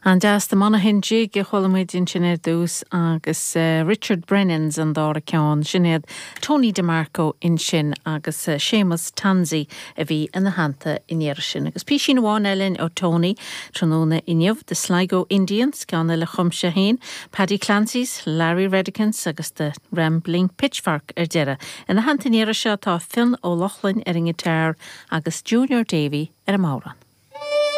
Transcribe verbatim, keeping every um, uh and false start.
An-deas The Monaghan Jig a chuala muid ansin ar dtús agus uh, Richard Brennan's an dara ceann sin iad Tony DeMarco ansin agus uh, Seamus Tansey a bhí ina theannta an iarraidh sin. Agus písín amháin eile ó Tony tráthnóna inniu the Sligo Indians ceann eile a chum sé féin, Paddy Clancy's, Larry Redicans agus the Rambling Pitchfork ar deireadh. Ina theannta an iarraidh seo tá Fionn Ó Lochlainn ar an ngiotár agus Junior Davy ar an mbodhrán.